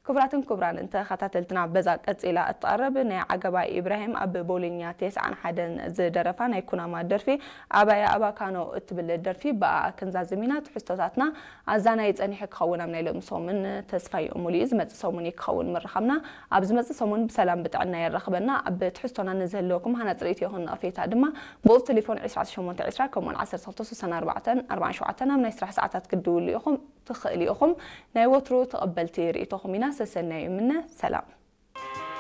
ክቡራትን ክቡራን ተኸታተልትና፣ በዛ ቀጺላ እትቐርብ ናይ ዓገባ ኢብራሂም ኣብ ቦሊኛ ተስዓን ሓደን ዝደረፋ ናይ ኩናማ ደርፊ ኣባያ ኣባካኖ እትብል ደርፊ ብኣኣ ክንዛዝም ኢና። ትሕዝቶታትና ኣዛናይ ጸኒሑ ክኸውን ኣብ ናይ ሎሚ ሰሙን ተስፋ እዩ። ሙሉእ ዝመጽእ ሰሙን እዩ ክኸውን ምርኻብና። ኣብ ዝመጽእ ሰሙን ብሰላም ብጥዕና የራኽበና። ኣብ ትሕዝቶና ንዝህልወኩም ሃናጺ ርእይቶ ይኹን ነቐፌታ ድማ ብቑጽሪ ቴሌፎን ዕስራን ሸሞንተን ዕስራን ከምኡውን ዓሰርተ ክልተ ስሳን ኣርባዕተን ኣርባዓን ሸውዓተን ኣብ ናይ ስራሕ ሰዓታት ክትድውሉ ኢኹም። ትኽእሉ ኢኹም። ናይ ወትሩ ተቐበልቲ ርእይቶኹም ኢና። ሰሰናዩ ይምነ። ሰላም።